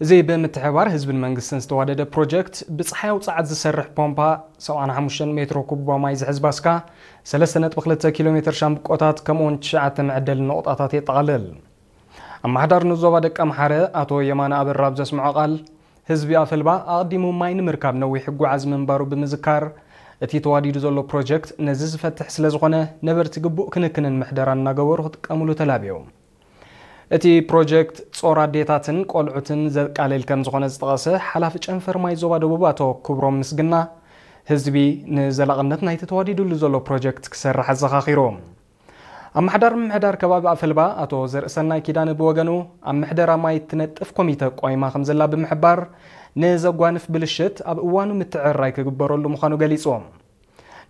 እዚ ብምትሕብባር ህዝብን መንግስትን ዝተዋደደ ፕሮጀክት፣ ብፀሓያዊ ፀዓት ዝሰርሕ ፖምፓ፣ ሰብዓን ሓሙሽተን ሜትሮ ኩቦ ማይ ዝሕዝ ባስካ፣ ሰለስተ ነጥቢ ክልተ ኪሎ ሜትር ሻምብቆታት፣ ከምኡውን ትሽዓተ መዐደሊ ነቑጣታት የጠቓልል። ኣመሓዳሪ ንዞባ ደቀ ኣምሓረ ኣቶ የማነ ኣበራ ኣብ ዘስምዖ ቃል፣ ህዝቢ ኣፈልባ ኣቐዲሙ ማይ ንምርካብ ነዊሕ ይጓዓዝ ምንባሩ ብምዝካር፣ እቲ ተዋዲዱ ዘሎ ፕሮጀክት ነዚ ዝፈትሕ ስለ ዝኾነ፣ ነበርቲ ግቡእ ክንክንን ምሕደራን እናገበሩ ክጥቀምሉ ተላብዮም። እቲ ፕሮጀክት ጾር ኣዴታትን ቆልዑትን ዘቃልል ከም ዝኾነ ዝጠቐሰ ሓላፊ ጨንፈር ማይ ዞባ ደቡብ ኣቶ ክብሮም ምስግና፣ ህዝቢ ንዘላቕነት ናይቲ ተዋዲዱሉ ዘሎ ፕሮጀክት ክሰርሕ ኣዘኻኺሩ። ኣመሓዳሪ ምምሕዳር ከባቢ ኣፈልባ ኣቶ ዘርእሰናይ ኪዳነ ብወገኑ፣ ኣብ ምሕደራ ማይ እትነጥፍ ኮሚተ ቆይማ ከም ዘላ ብምሕባር፣ ንዘጓንፍ ብልሽት ኣብ እዋኑ ምትዕርራይ ክግበረሉ ምዃኑ ገሊጹ።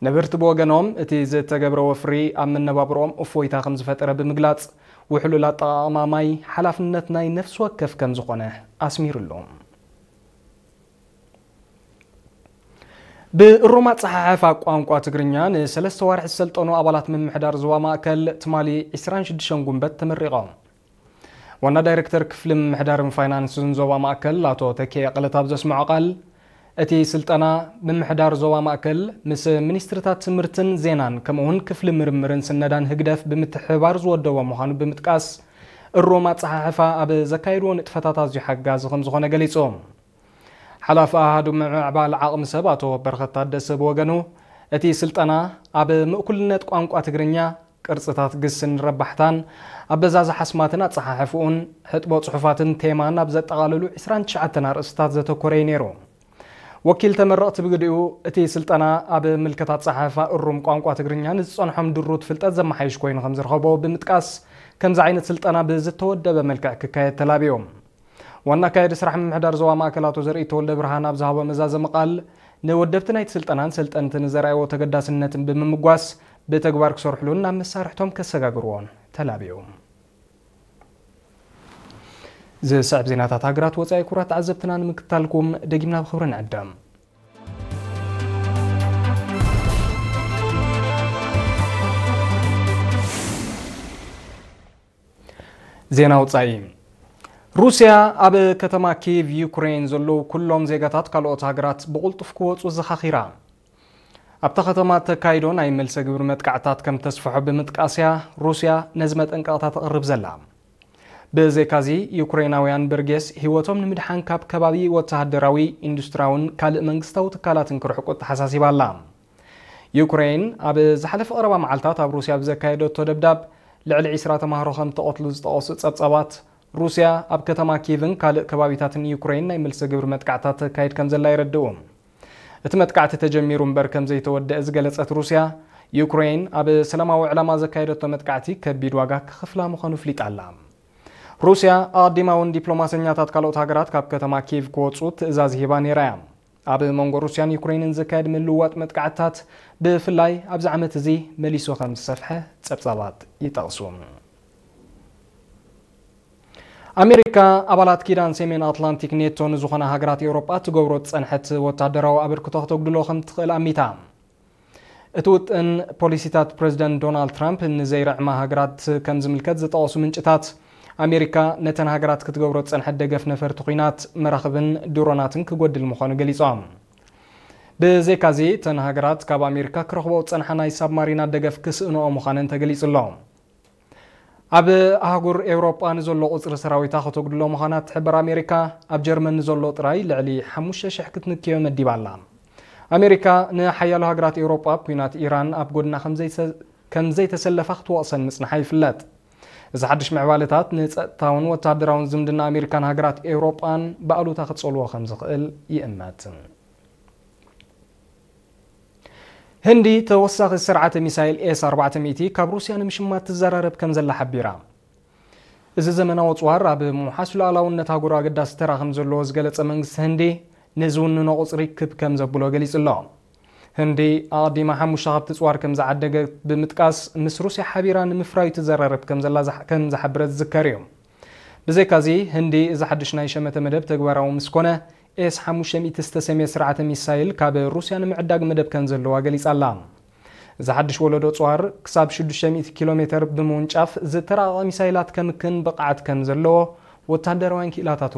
ነበርቲ ብወገኖም፣ እቲ ዝተገብረ ወፍሪ ኣብ መነባብሮኦም እፎይታ ከም ዝፈጠረ ብምግላጽ፣ ውሕሉል ኣጠቓቕማ ማይ ሓላፍነት ናይ ነፍሲ ወከፍ ከም ዝኾነ ኣስሚሩሉ። ብእሩም ኣጸሓሕፋ ቋንቋ ትግርኛ ንሰለስተ ዋርሒ ዝሰልጠኑ ኣባላት ምምሕዳር ዞባ ማእከል፣ ትማሊ ዕስራን ሽዱሽተን ጉንበት ተመሪቖም። ዋና ዳይሬክተር ክፍሊ ምምሕዳርን ፋይናንስን ዞባ ማእከል ኣቶ ተኪኤ ቀለታ ኣብ ዘስምዖ ቃል፣ እቲ ስልጠና ምምሕዳር ዞባ ማእከል ምስ ሚኒስትሪታት ትምህርትን ዜናን ከምኡውን ክፍሊ ምርምርን ስነዳን ህግደፍ ብምትሕብባር ዝወደቦ ምዃኑ ብምጥቃስ፣ እሩም ኣጸሓሕፋ ኣብ ዘካየድዎ ንጥፈታት ኣዝዩ ሓጋዚ ከም ዝኾነ ገሊጹ። ሓላፊ ኣሃዱ ምምዕባል ዓቕሚ ሰብ ኣቶ በረኸት ታደሰ ብወገኑ፣ እቲ ስልጠና ኣብ ምእኩልነት ቋንቋ ትግርኛ፣ ቅርጽታት ግስን ረባሕታን፣ ኣበዛዝሓ ኣስማትን ኣጸሓሕፍኡን፣ ሕጥቦ ጽሑፋትን ቴማን ኣብ ዘጠቓለሉ ዕስራን ትሽዓተን ኣርእስታት ዘተኮረ እዩ ነይሩ። ወኪል ተመረቕቲ ብግዲኡ፣ እቲ ስልጠና ኣብ ምልከት ኣጸሓሕፋ እሩም ቋንቋ ትግርኛ ንዝጸንሖም ድሩት ፍልጠት ዘመሓይሽ ኮይኑ ከም ዝረኸቦ ብምጥቃስ፣ ከምዚ ዓይነት ስልጠና ብዝተወደበ መልክዕ ክካየድ ተላብዩ። ዋና ኣካያዲ ስራሕ ምምሕዳር ዞባ ማእከል ኣቶ ዘርኢ ተወልደ ብርሃን ኣብ ዝሃቦ መዛዘሚ ቃል፣ ንወደብቲ ናይቲ ስልጠናን ሰልጠንቲ ንዘርኣይዎ ተገዳስነትን ብምምጓስ፣ ብተግባር ክሰርሕሉን ናብ መሳርሕቶም ከሰጋግርዎን ተላብዩ። ዝስዕብ ዜናታት ሃገራት ወጻኢ ክቡራት ተዓዘብትና ንምክትታልኩም ደጊምና ብኽብሪ ንዕደም። ዜና ወጻኢ። ሩስያ ኣብ ከተማ ኪየቭ ዩክሬን ዘለዉ ኩሎም ዜጋታት ካልኦት ሃገራት ብቕልጡፍ ክወጹ ዘኻኺራ። ኣብታ ከተማ ተካይዶ ናይ መልሰ ግብሪ መጥቃዕታት ከም ተስፍሖ ብምጥቃስ እያ ሩስያ ነዚ መጠንቀቕታ ተቕርብ ዘላ። ብዘይካዚ፣ ዩክሬናውያን በርጌስ ህይወቶም ንምድሓን ካብ ከባቢ ወተሃደራዊ፣ ኢንዱስትራውን ካልእ መንግስታዊ ትካላትን ክርሕቁ ተሓሳሲባ ኣላ። ዩክሬን ኣብ ዝሓለፈ ቀረባ መዓልታት ኣብ ሩስያ ብዘካየደቶ ደብዳብ ልዕሊ ዒስራ ተማሃሮ ከም ተቐትሉ ዝጠቐሱ ጸብጻባት፣ ሩስያ ኣብ ከተማ ኪቭን ካልእ ከባቢታትን ዩክሬን ናይ መልሰ ግብሪ መጥቃዕታት ተካይድ ከም ዘላ የረድኡ። እቲ መጥቃዕቲ ተጀሚሩ እምበር ከም ዘይተወደአ ዝገለጸት ሩስያ፣ ዩክሬን ኣብ ሰላማዊ ዕላማ ዘካየደቶ መጥቃዕቲ ከቢድ ዋጋ ክኸፍላ ምዃኑ ፍሊጣ ኣላ። ሩስያ ኣቐዲማ እውን ዲፕሎማሰኛታት ካልኦት ሃገራት ካብ ከተማ ኪቭ ክወጹ ትእዛዝ ሂባ ነይራ እያ። ኣብ መንጎ ሩስያን ዩክሬንን ዝካየድ ምልውዋጥ መጥቃዕትታት፣ ብፍላይ ኣብዚ ዓመት እዚ መሊሱ ከም ዝሰፍሐ ጸብጻባት ይጠቕሱ። ኣሜሪካ ኣባላት ኪዳን ሰሜን ኣትላንቲክ ኔቶ ንዝኾና ሃገራት ኤውሮጳ ትገብሮ ዝጸንሐት ወታደራዊ ኣበርክቶ ክተጉድሎ ከም ትኽእል ኣሚታ። እቲ ውጥን፣ ፖሊሲታት ፕረዚደንት ዶናልድ ትራምፕ ንዘይርዕማ ሃገራት ከም ዝምልከት ዝጠቐሱ ምንጭታት፣ ኣሜሪካ ነተን ሃገራት ክትገብሮ ዝጸንሐት ደገፍ ነፈርቲ ኲናት፣ መራኽብን ድሮናትን ክጎድል ምዃኑ ገሊጾም። ብዘይካዚ፣ እተን ሃገራት ካብ ኣሜሪካ ክረኽቦ ዝጸንሓ ናይ ሳብማሪናት ደገፍ ክስእንኦ ምዃነን ተገሊጹ ኣሎ። ኣብ ኣህጉር ኤውሮጳ ንዘሎ ቁጽሪ ሰራዊታ ከተጉድሎ ምዃና እትሕብር ኣሜሪካ፣ ኣብ ጀርመን ንዘሎ ጥራይ ልዕሊ ሓሙሽተ ሽሕ ክትንክዮ መዲባ ኣላ። ኣሜሪካ ንሓያሎ ሃገራት ኤውሮጳ ኣብ ኲናት ኢራን ኣብ ጎድና ከም ዘይተ-፣ ከም ዘይተሰለፋ ክትወቕሰን ምጽንሓ ይፍለጥ። እዚ ሓድሽ ምዕባለታት ንጸጥታውን ወታደራውን ዝምድና ኣሜሪካን ሃገራት ኤውሮጳን ብኣሉታ ክጸልዎ ከም ዝኽእል ይእመት። ህንዲ ተወሳኺ ስርዓተ ሚሳይል ኤስ ኣርባዕተ ሚእቲ ካብ ሩስያ ንምሽማት ትዘራረብ ከም ዘላ ሓቢራ። እዚ ዘመናዊ ኣጽዋር ኣብ ምውሓስ ሉዓላውነት ኣህጉር ኣገዳሲ ተራ ከም ዘለዎ ዝገለጸ መንግስቲ ህንዲ፣ ንዝውንኖ ቁጽሪ ክብ ከም ዘብሎ ገሊጹ ኣሎ። ህንዲ ኣቐዲማ ሓሙሽተ ካብቲ ኣጽዋር ከም ዝዓደገት ብምጥቃስ፣ ምስ ሩስያ ሓቢራ ንምፍራዩ ትዘራረብ ከም ዘላ ዝሓ-፣ ከም ዝሓበረት ዝዝከር እዩ። ብዘይካዚ፣ ህንዲ እዚ ሓድሽ ናይ ሸመተ መደብ ተግባራዊ ምስ ኮነ፣ ኤስ ሓሙሽተ ሚእቲ ዝተሰምየ ስርዓተ ሚሳይል ካብ ሩስያ ንምዕዳግ መደብ ከም ዘለዋ ገሊጻ ኣላ። እዚ ሓድሽ ወለዶ ኣጽዋር ክሳብ ሽዱሽተ ሚእቲ ኪሎ ሜተር ብምውንጫፍ ዝተራቐቐ ሚሳይላት ከምክን ብቕዓት ከም ዘለዎ ወታደራውያን ክኢላታት